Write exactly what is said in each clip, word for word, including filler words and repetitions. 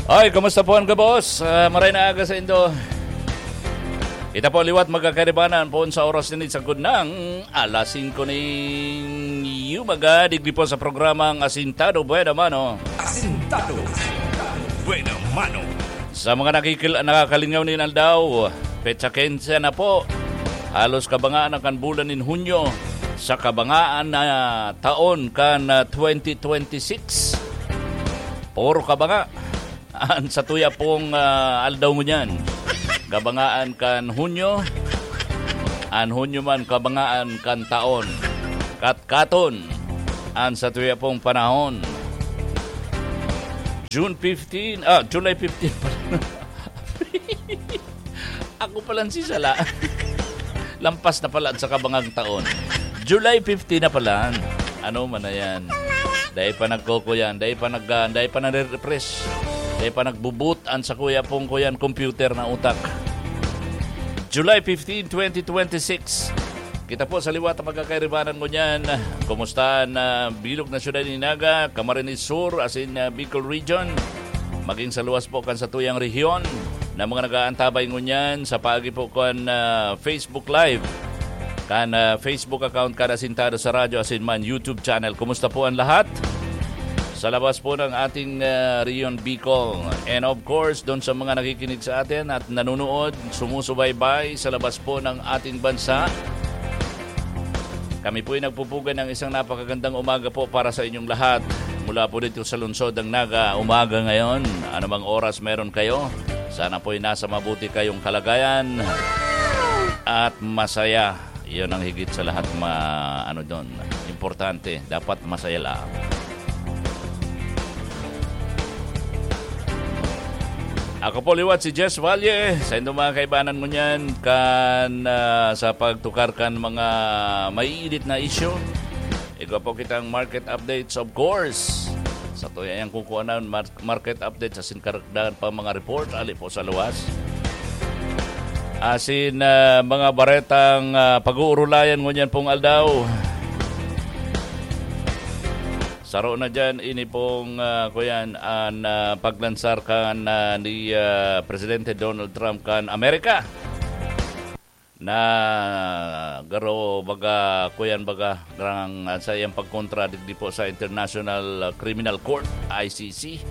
Ay, kumusta po ang gabos? Ah, maray na aga sa indo. Kita po liwat magkakaribanan po sa oras nini sa gudnang alas singko ning yumaga, digdi po sa programang Asintado Buena Mano. Asintado Buena Mano. Sa mga nakikil-, nakakalingaw nin aldaw, petsa quince na po. Halos kabangaan na kan bulan nin Hunyo sa kabangaan na taon kan, ah, twenty twenty-six. Puro kabanga an satuya pong, ah, aldaw ngunyan. Kabangaan kan Hunyo, an Hunyo man kabangaan kan taon. Katkaton an satuya pong panahon. June fifteen, ah, July fifteen pala. Ako palan si Sala. Lampas na pala sa kabangang taon. July fifteen na pala. Ano man na yan? Dai pa nagkukuyan, dai pa nag-, ah, dai pa nare-refresh, dai pa nagbuboot an sakuya pong kuyan computer na utak. July fifteen, twenty twenty-six. Kita po sa liwat ang magkakairibanan ngunyan. Kumusta na bilog na syudad ni Naga, Camarines Sur, asin, ah, Bicol Region? Maging sa luwas po kan satuyang rehiyon na mga nag-aantabay ngunyan sa paagi po kan, ah, Facebook Live, kan, ah, Facebook account kan Asintado sa Radyo asin man YouTube channel. Kumusta po ang lahat? Sa labas po ng ating, ah, Rion Bicol. And of course, doon sa mga nakikinig sa atin at nanonood, sumusubaybay sa labas po ng ating bansa. Kami po'y nagpupugay ng isang napakagandang umaga po para sa inyong lahat. Mula po dito sa lungsod ng Naga, umaga ngayon, anumang oras meron kayo, sana po'y nasa mabuti kayong kalagayan at masaya. Yun ang higit sa lahat ma-, ano doon, importante. Dapat masaya lang. Ako po liwat si Jess Valle. Sa indong mga kaibanan mo niyan, kan, ah, sa pagtukar kan mga maiinit na isyu. Igwa po kitang market updates, of course. Sa tuya yang kukuanan, mar-, market updates, asin karagdagan pa mga report, ali po sa luwas. Asin, ah, mga baretang, ah, pag-uurulayan ngunyan pong aldaw. Saro na dyan, ini pong, ah, kuyan, an, ah, paglansar kan, ah, ni, ah, Presidente Donald Trump kan Amerika. Na garo baga, kuyan baga, grang, ah, sa iyang pagkontra digdi po sa International Criminal Court, I C C,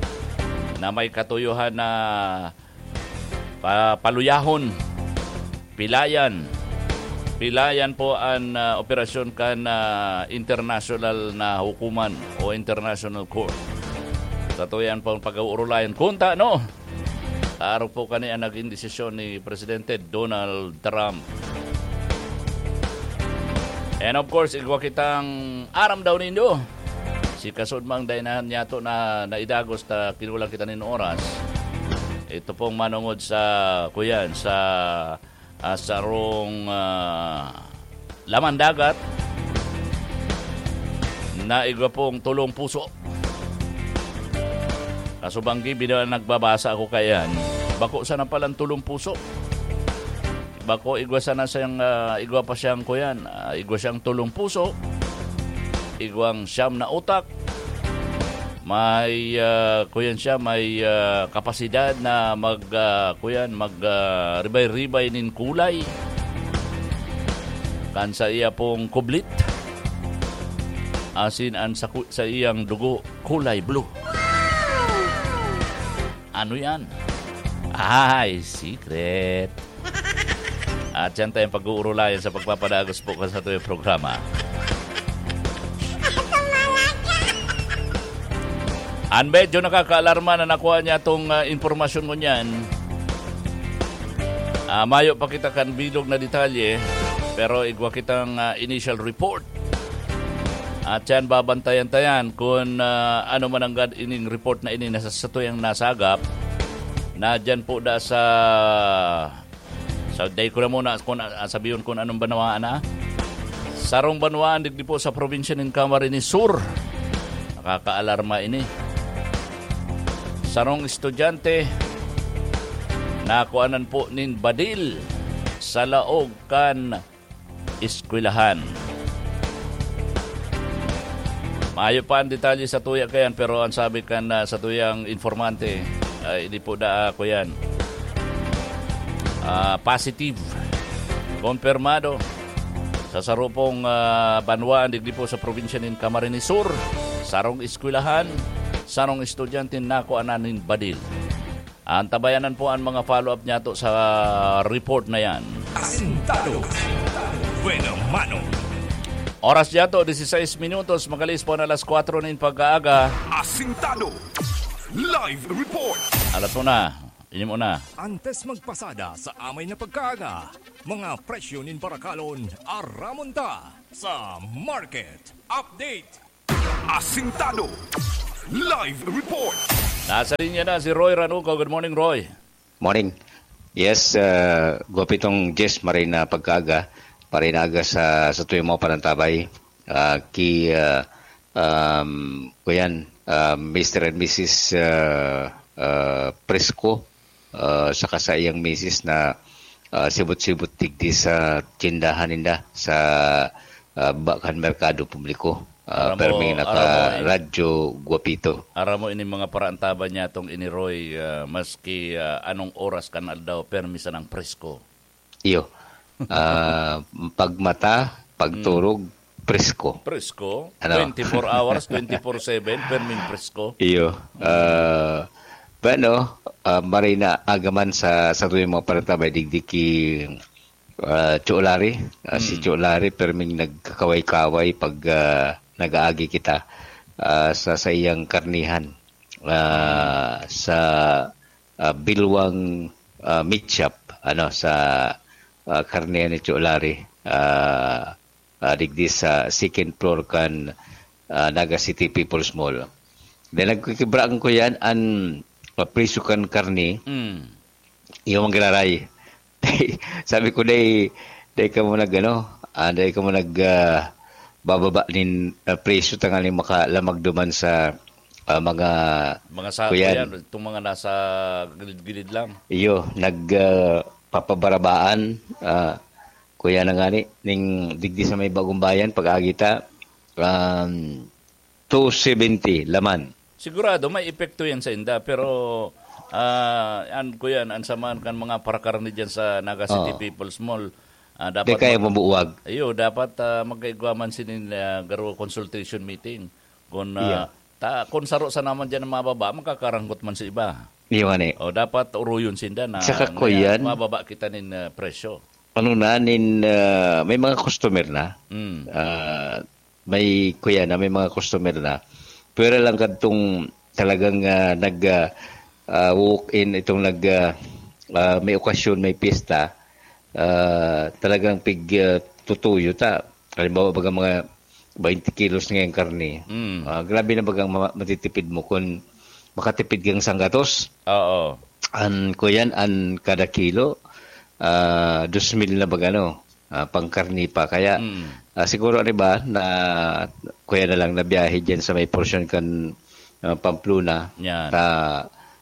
na may katuyohan na pa-, paluyahon, pilayan, pilayan po an, ah, operasyon kan, ah, international na hukuman o international court. Sa tuyan pong pag-uurulayan, kunta, no? Arog po kani ang naging desisyon ni Presidente Donald Trump. And of course, igwa kitang aram daw nindo. Si kasud mang dai na niyato na naidagos ta kinulang kita nin oras. Ito pong manungod sa, kuyan, sa, ah, sarong, ah, laman dagat na igwa pong tulong puso. Kasubanggi, bida nagbabasa ako kayan. Bako sana palang tulong puso. Bako, igwa sana siyang, ah, igwa pa siyang kuyan. Ah, igwa siyang tulong puso. Igwang siyam na utak. May, ah, kuyan siya, may, ah, kapasidad na mag, ah, kuyan, mag, ah, ribay-ribay nin kulay. Kan sa iya pong kublit. Asin an sa ku-, sa iyang dugo, kulay blue. Ano yan? Ay, secret. At yan tayong pag-uurulayan sa pagpapadagos po kan satuyang programa. An medyo nakakaalarma na nakuha niya tong, ah, impormasyon ngunyan. Ah, mayo pa kita kan bilog na detalye, pero igwa kitang, ah, initial report. At yan, babantayan-tayan kun, ah, ano man ang gad ining report na ini na sa satuyang nasagap. Na dyan po da sa, sa, dai ko na muna kun, ah, sabihon kun anong banwaan na. Sarong banwaan digdi po sa probinsya nin Camarines Sur. Nakakaalarma ini. Sarong estudyante nakuanan po nin badil sa laog kan eskwelahan. Maayo pa ang detalye sa tuya kayan, pero ang sabi kan, ah, sa tuyang informante, ay, di po da, ah, kuyan. Ah, positive. Kompirmado. Sa sarupong, ah, banwa, digdi po sa probinsya nin Camarines Sur, sarong eskwelahan, sarong estudyante nakuanan nin badil. Antabayanan po ang mga follow-up niyato sa report na yan. Asintado. Buena mano. Oras niyato, dieciséis minutos, magalis po na alas kwatro nin pagkaaga. Asintado. Live report. Alas una, inyong una. Antes magpasada sa amay na pagkaaga, mga presyo nin barakalon, aramon ta sa market update. Asintado. Live report. Nasa linya na si Roy Ranuco. Good morning, Roy. Morning. Yes, uh, Guapitong Jess, maray na pagkaaga, maray na aga sa, sa tuyong mga panantabay. Ah, ki, ah, um, kuyan, ah, Mister and Missus, ah, ah, Presko, ah, saka sa iyang misis na, ah, sibot-sibot digdi sa tindahan ninda sa, ah, baba kan merkado publiko. Ah, Aram mo, perming aram mo, naka-radyo Guapito. Aram mo, ini mga paraantaban niya tong ini Roy, ah, maski, ah, anong oras kan aldaw, permi sanang presko. Iyo. Ah, pagmata, pagturog, presko. Presko? Ano? Twenty-four hours, twenty-four seven, perming presko. Iyo. Ah, bueno, ah, maray na aga man sa, sa tuyong mga panantabay, digdi ki, ah, Chulari. Ah, si Chulari, perming nagkakaway-kaway pag, ah, nag-aagi kita, ah, sa, sa iyang karnihan. Ah, sa, ah, Bilwang, ah, Meat Shop, ano, sa, ah, karnihan ni Chulari. Ah, ah, digdi sa second floor kan, ah, Naga City People's Mall. Then nagkikibraan ko yan, an, ah, presyo kan karne, Mm. yung manggiraray. Sabi ko, "Dai, dai kamo nag, ano, ah, dai kamo nag, ah, bababa nin, ah, presyo tanganing makalamag duman sa, ah, mga Mga sa, kuyan. Kuyan, itong mga nasa gilid-gilid lang." Iyo, nag, ah, papabarabaan, ah, kuya na ngani, ning digdi sa may Bagong Bayan, pag-agi ta, um, two seventy laman. Sigurado, may epekto yan sa inda, pero, ah, an, kuyan, an saman kan mga parakarne dyan sa Naga City Oo. People's Mall, ah, Di dapat kaya mag-, mabuwag. Iyo, dapat, ah, magkaigwa man sinin, ah, garo consultation meeting. Kung, ah, Iya. ta, kung saro sa naman dyan ang mababa, magkakaranggot man sa iba. Iyo, ngani. O, dapat uruyon sinda na Saka, ngayon, kuyan, mababa kita nin, ah, presyo. Ano na, nin, ah, may mga customer na. Mm. Ah, may, kuya na, may mga customer na. Pero lang kadtong talagang, ah, nag, ah, ah, walk-in, itong nag, ah, ah, may okasyon, may piyesta, ah, talagang pig, ah, tutuyo ta. Halimbawa, baga mga twenty kilos ngayong karne. Mm. Ah, grabe na bagang ma-, matitipid mo kung makatipid kang sanggatos. Oo. An, kuyan, an kada kilo, ah, dos mil na baga, no? Ah, pangkarne pa. Kaya, Mm. ah, siguro, ano ba, na, kuya na lang na biyahe dyan sa may portion kan, ah, Pamplona. Yan. Ta,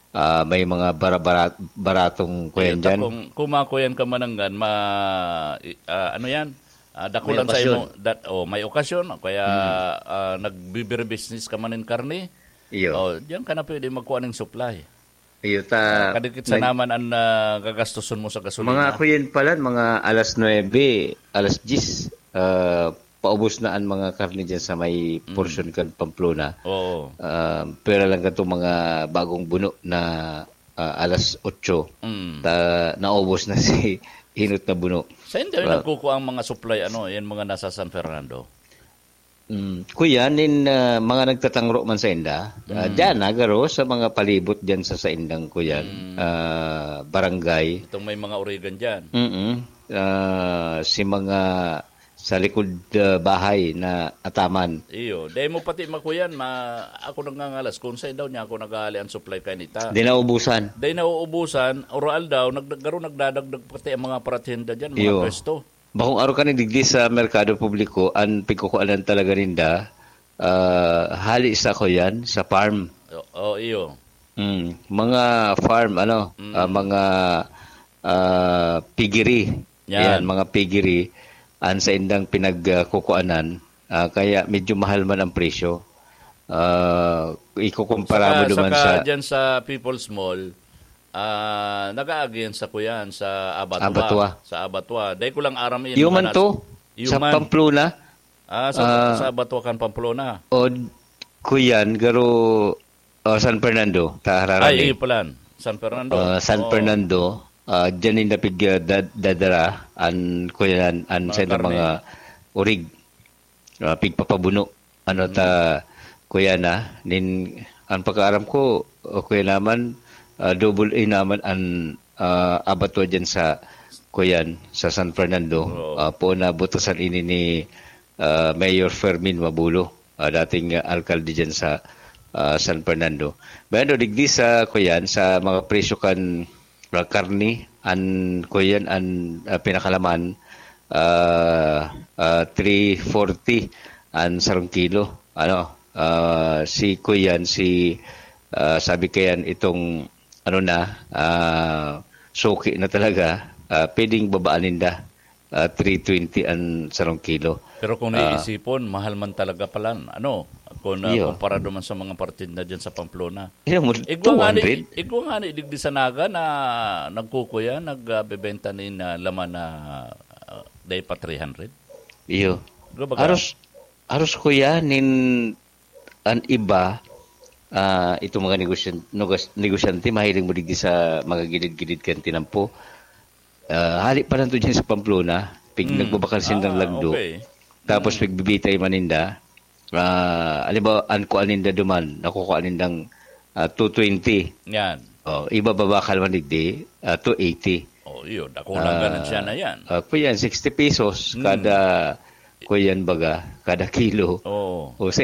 ah, may mga bara-, bara-, baratong kuyan Ayun, ta dyan. Kung, kung makuyan ka mananggan, ma-, i-, ah, ano yan? Ah, dakulan May sa imo, okasyon. Dat-, oh, may okasyon, o kaya, Mm. ah, nagbibirebusiness ka man nin karne, Iyo. oh, diyan ka na pwede magkuha ng supply. Iyo, ta, Ah, kadikit sa nag- naman ang, ah, gagastuson mo sa gasolina. Mga kuyan pala, mga alas nuebe, alas diyes, ah, paubos na ang mga karne dyan sa may Mm. portion kan Pamplona. Oo. Ah, pwera lang katong mga bagong buno na, ah, alas otso, Mm. ta-, naubos na si hinot na buno. Sa inda, Ah. nagkukuha ang mga supply, ano, yan mga nasa San Fernando? Mm. Kuya, nin, ah, mga nagtatangro man sa inda, ah, Mm. dyan, nagaro sa mga palibot dyan sa, sa indang kuyan, Mm. ah, barangay. Itong may mga Origan dyan. Mm-mm. Ah, si mga sa likod, ah, bahay na ataman. Iyo. Dahil mo pati makuyan, ma-, ako nagngangalas kung saan daw niya ako nag-aali ang supply kainita. Di naubusan. Dahil nauubusan, oral daw, nag-, garo nagdadagdag pati ang mga paratinda dyan, mga Iyo. pwesto. Bakong araw ka digdi sa merkado publiko, ang pigkukuanan talaga ninda, ah, hali sa kuyan, sa farm. O, o, iyo. Mm, mga farm, ano, Mm. ah, mga, ah, piggery. Yan. Yan, mga piggery, ang sa indang pinagkukuanan, ah, kaya medyo mahal man ang presyo. Ah, ikukumpara mo Saka, duman saka sa dyan sa People's Mall, ah, nag-aagi yan sa kuyan, sa abattoir. Abattoir. Sa abattoir. Dahil ko lang aram yan, Human manas- to? Sa Human. Pamplona? Ah, sa, Ah. sa abattoir kan Pamplona. O, kuyan, garo, o, San Fernando, ta Ay, hararan eh. iyo pala. San Fernando. Ah, San Oo. Fernando, ah, dyan yung napig, ah, dad-, dadara, an, kuyan, an, Mga sa inyo karne. mga urig. Ah, pigpapabuno. Ano ta, Mm. kuya na, nin, ang pagkaaram ko, o kuya naman, ah, double A naman ang, ah, abattoir dyan sa, kuyan, sa San Fernando. Oo. Ah, poon na butasan ini ni, ah, Mayor Fermin Mabulo, ah, dating, ah, alkalde dyan sa, ah, San Fernando. Pero digdi sa, kuyan, sa mga presyo kan, ah, karne, an, kuyan, an, ah, pinakalaman, ah, ah, three forty an sarong kilo. Ano, ah, si kuyan, si, ah, sabi kayan itong, ano na, ah, suki na talaga, ah, pwedeng babaan ninda, ah, three twenty an sarong kilo. Pero kung Ah. iisipon, mahal man talaga palan, ano, kung, ah, Iyo. kumpara duman sa mga partido na dyan sa Pamplona. Iyo, mo, Igwa nga ni, two hundred. igwa nga ni digdi sa Naga na nagkukuya, nagbebenta nin, ah, laman na, ah, dai pa three hundred. Iyo. Di ba ka? Aros, aros kuya, nin an iba, ah, itong mga negosyan-, nugas-, negosyante, mahiling mo digdi sa mga gilid-gilid kan tinampo. Ah, hali pa lang to dyan sa Pamplona, pig-, Mm. nagbabakal sindang Ah, lagdo. okay. Tapos Mm. pigbibitay man ninda. Ah, halimbawa, an kuan ninda duman, nakukuha nindang, ah, two twenty. Yan. Oh, iba babakal man digdi, ah, two eighty. Oh, yun. Ako lang Ah, ganun siya na yan. ah, kuyan, sixty pesos Mm. kada, kuyan baga, kada kilo. Oo. O, sa,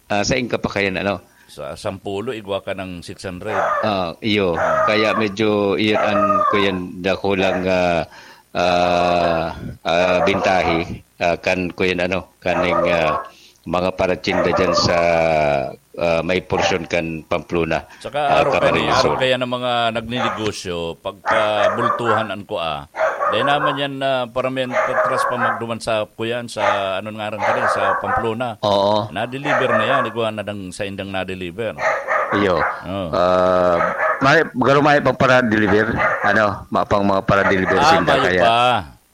ah, sa ingka pa kayan, ano? Sa sampulo, igwa ka ng six hundred. Ah, iyo. Kaya medyo, iyan an, kuyan, dakulang, ah, ah, ah, bintahi, ah, kan, kuyan, ano, kaning, ah, mga paratsinda dyan sa, ah, may porsyon kan Pamplona, Saka ah, araw kaya ni, Camarines araw Sur. kaya ng mga nagninegosyo, pagkabultuhan an kua. Dahil naman yan, ah, paramihan, patras pa magduman sa kuyan, sa, ano nga rin ka rin, sa Pamplona. Oo. Na-deliver na yan, igwa na dang saindang na-deliver. Iyo. Oo. Ah, may, garo may pang para-deliver, ano, mapang mga para-deliver Ah, sinda mayo kaya. pa.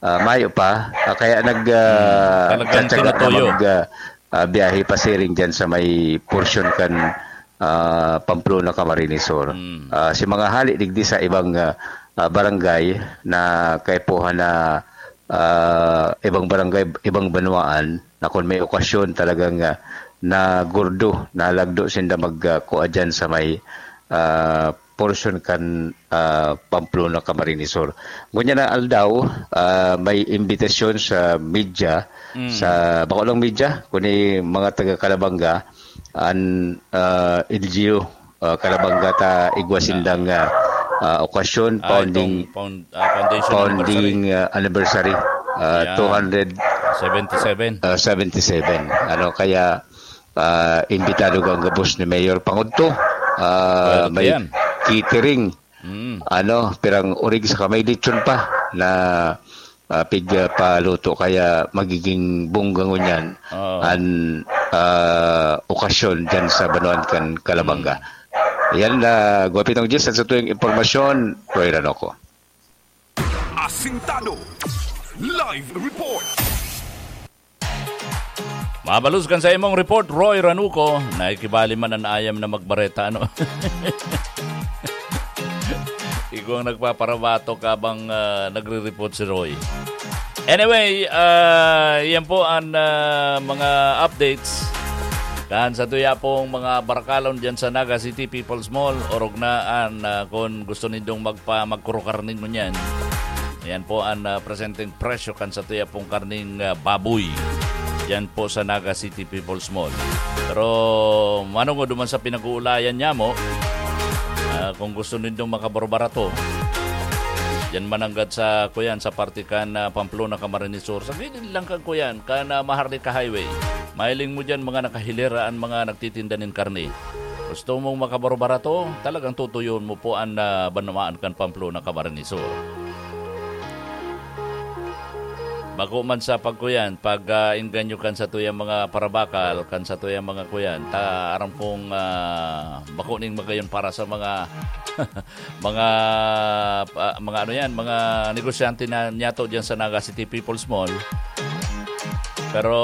Ah, mayo pa. Ah, kaya nag, ah, Hmm, talagang tsatsaga na tinutuyo. mag, ah, ah, biyahe pasiring dyan sa may porsyon kan, ah, Pamplona, Camarines Sur. Hmm. Ah, si mga hali digdi sa ibang, ah, ah, barangay na kaipuhan na, ah, ibang barangay, ibang banwaan, na kung may okasyon talagang, ah, nagurdo, nalagdo sinda mag, ah, kua dyan sa may, ah, porsyon kan, ah, Pamplona, Camarines Sur. Ngunyan na aldaw, ah, may imbitasyon sa media, Mm. sa, bako lang media, kundi mga taga Calabanga, an, ah, L G U, ah, Calabanga ta igwa sindang, ah, ah, okasyon, Ah, founding, itong found-, ah, foundation founding, anniversary. ah, anniversary, ah, Yan. two hundred, Seventy-seven. ah, seventy-seven. Ano, kaya, ah, imbitado ka ang gabos ni Mayor Pangudto. Ah, Pwede may yan. catering. Mm. Ano, pirang orig sa kamay lechon pa na, ah, pig, ah, paluto. Kaya magiging bongga ngunyan Oo. an, ah, okasyon dyan sa Banwaan kan Calabanga. Mm. Yan na, Guapitong Jis, at sa tuyong impormasyon, Roy Ranoco. Asintado. Live report. Mabalos kan sa imong report, Roy Ranuco, nakikibali man an ayam na magbareta, ano? Ikaw ang nagpaparabatok habang, ah, nagre-report si Roy. Anyway, ah, yan po ang, ah, mga updates. Kan sa tuya pong mga barakalon dyan sa Naga City People's Mall, orog na an, ah, kung gusto nindong magpa-, magkurukarning ngunyan. Yan po ang, ah, presenteng presyo kan sa tuya pong karning, ah, baboy. Yan po sa Naga City People's Mall. Pero manong duman sa pinag-uulayan niya mo, ah, kung gusto nindong makabarbarato, yan mananggad sa, kuyan, sa parte kan, ah, Pamplona, Camarines Sur. Sa gilid lang kan, kuyan, kan, ah, Maharlika Highway. Mahiling mo dyan, mga nakahilera an mga nagtitinda nin karne. Gusto mong makabarbarato? Talagang tutuyon mo po an, ah, banwaan kan Pamplona, Camarines Sur. Bako man sa pagkuyan, pag, ah, engganyo kan satuyang mga parabakal, kan satuyang mga kuyan, ta aram kong, ah, bako ning magayon para sa mga, mga, ah, mga ano yan, mga negosyante na niyato diyan sa Naga City People's Mall. Pero,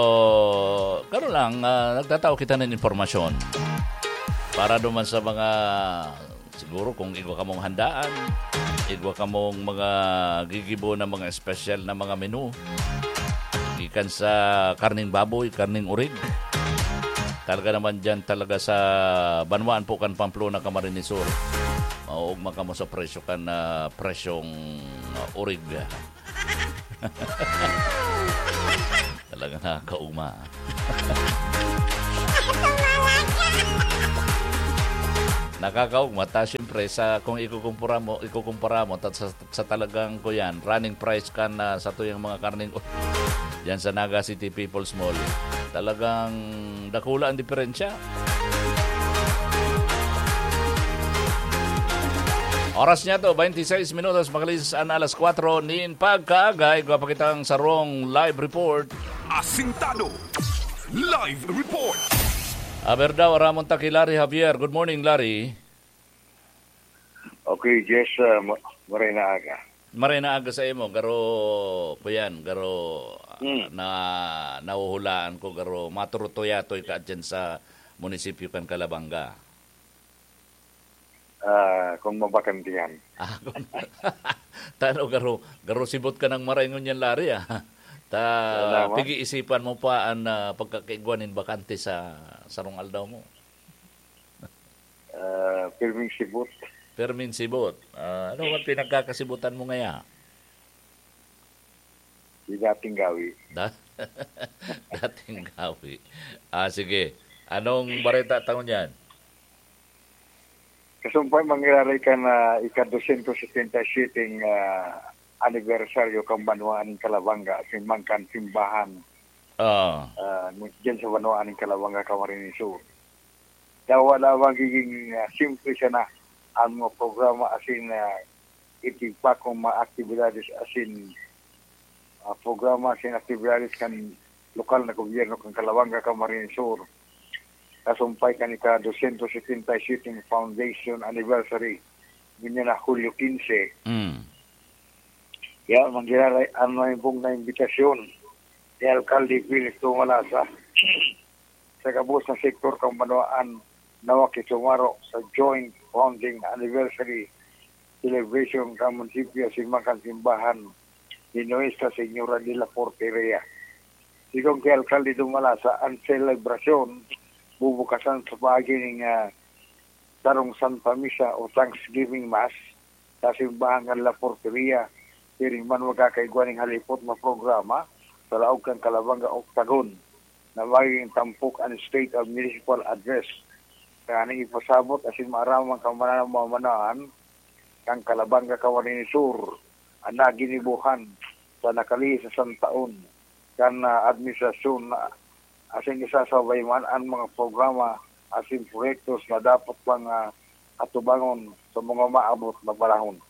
karon lang, ah, nagtatao kita ng impormasyon para duman sa mga, siguro kung igwa kamong handaan, igwa kamong mga gigibo na mga espesyal na mga menu, gikan sa karning baboy, karning urig. Talaga naman diyan talaga sa banwaan po kan Pamplona, Camarines Sur. Mauugma kamo sa presyo kan, ah, presyong, ah, urig. Talaga nakakaugma. Nakakaugma, ta siyempre, sa, kung ikukumpara mo, ikukumpara mo, ta sa, sa talagang, kuyan, running price kan, ah, satuyang mga karneng diyan sa Naga City People's Mall, talagang dakula ang diferensya. Oras niya to, twenty-six minutos, makalipas an alas kwatro nin pagkaaga. Igwa pa kitang sarong live report. Asintado. Live report. Aber daw, aramon ta ki Larry Javier. Good morning, Larry. Okay, Jess, ah, ma-, maray na aga. Maray na aga sa imo, garo, kuyan, garo, ah, Hmm. na, nahuhulaan ko, garo, maturutuyatoy ka dyan sa munisipyo kan Calabanga. Ah, kung mabakantihan. Ah, kung, tano, garo, garo sibot ka ng maray ngunyan, Larry, ah. Ta, Wala, ma. pag-iisipan mo pa ang, ah, pagkakaigwa nin bakante sa sarong aldaw mo. Ah, pirming sibot. Pirming sibot. Ah, ano ang pinagkakasibutan mo ngaya? Di dating gawi. Da-, dating gawi. Ah, sige. Anong bareta taon yan? Kasumpay mangyayari kan, ah, ika-dosyentos setenta y siyete, ah, anibersaryo kan banwaan nin Calabanga, asin man kan simbahan, Ah. ah, dyan sa banwaan nin Calabanga, Camarines Sur. Dawa lamang giging, ah, simple siya na ang mga programa asin, ah, itibak kong mga aktibidades asin, ah, programa asin aktibidades kan lokal na gobyerno kan Calabanga, Camarines Sur. Kasumpay kan ika-dosyentos setenta y siyete foundation anniversary, ngunyan na Hulyo quince. Mm. Kaya manggiraray ang naimbong na imbitasyon ni Alkalde Felix Tumalasa sa gabos na sektor kan banwaan na makisumaro sa joint founding anniversary celebration kan munisipyo asin man kan simbahan ni Nuestra Señora de la Porteria. Sigon ki Alkalde Dumalasa, ang selebrasyon bubukasan sa paagi ning, ah, sarong Santa Misa o Thanksgiving Mass sa simbahan kan La Porteria. Siring man, magkakaigwa ning halipot na programa sa laog kan Calabanga Octagon na magiging tampok an State of Municipal Address, tanganing ipasabot asin maaraman kan mananamamanan kan Calabanga, Camarines Sur, an naginibohan sa nakalihis na santaon kan, ah, administrasyon na asin isasabay man an mga programa asin proyektos na dapat pang, ah, atubangon sa mga maabot na panahon.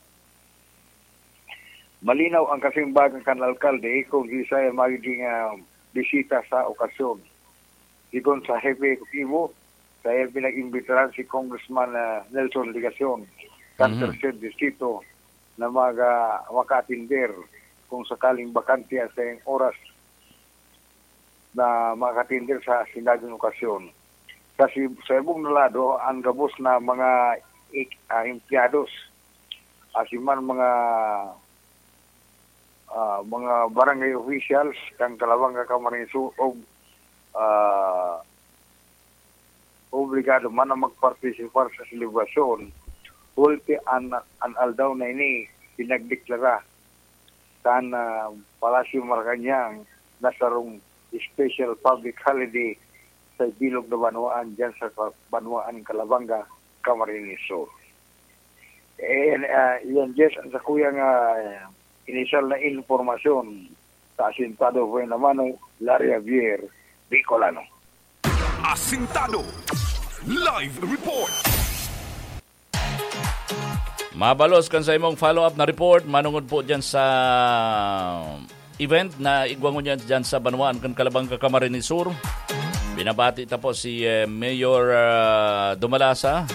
Malinaw ang kasimbagan kan alkalde kung siisay ang magiging, ah, bisita sa okasyon. Sigon sa hepe ehekutibo, sa pinag-imbitaran si Congressman, ah, Nelson Legacion, kan Mhm. tercer distrito, na maga-, maka-atender kung sakaling bakante ang saiyang oras na makatender sa sinabing okasyon. Sa si-, sa ibong na lado, ang gabos na mga ik-, ah, empleyados, asin man mga, ah, mga barangay officials kan Calabanga, Camarines Sur, og, ah, obligado man na magpartisipar sa selebrasyon, hulti an, an aldaw na ini pinagdeklara kan, ah, Palasyo Malacañang na sarong special public holiday sa bilog na banwaan diyan sa ka-, banwaan nin Calabanga, Camarines Sur. Eh, ah, iyan, Jess, ang sakuyang, ah, inisyal na impormasyon sa Asintado Buena Mano, Larry Javier, Bicolano. Asintado Live Report. Mabalos kan sa imong follow-up na report, manungod po dyan sa event na igwa ngunyan dyan sa banwaan kan Calabanga, Camarines Sur. Binabati ta po si, eh, Mayor, ah, Dumalasa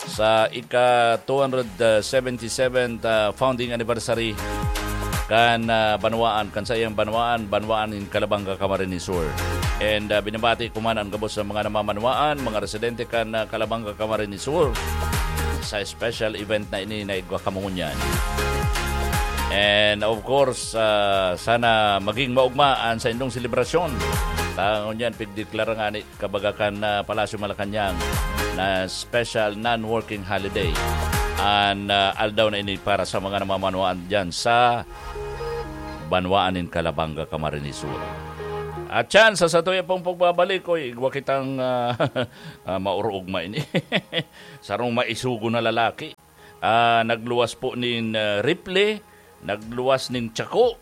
sa ika two hundred seventy-seventh, ah, founding anniversary kan, ah, banwaan, kan saiyang banwaan, banwaan in Calabanga, Camarines Sur. And, ah, binabati ko man ang gabos sa mga namamanwaan, mga residente kan, ah, Calabanga, Camarines Sur sa special event na ini na igwa kamo ngunyan. And of course, ah, sana maging maugma an saindong selebrasyon. Ta ngunyan, pigdeklara nga ni kabaga kan, ah, Palasyo Malacañang na special non-working holiday an, ah, aldaw na ini para sa mga namamanwaan dyan sa banwaan nin Calabanga, Camarines Sur. At yan, sa satuya pong pagbabalik, oy, igwa kitang, ah, ah, maurugma ini. Sarong maisugo na lalaki. Ah, nagluwas po nin, ah, rifle, nagluwas nin tsako,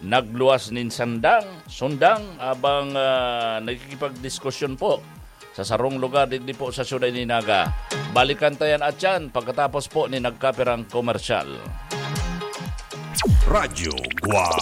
nagluwas nin sandang, sundang, abang, ah, nagkikipagdiskusyon po sa sarong lugar digdi po sa siyudad ni Naga. Balikan ta yan at yan pagkatapos po ni nagkapirang komersyal. Radyo Guam.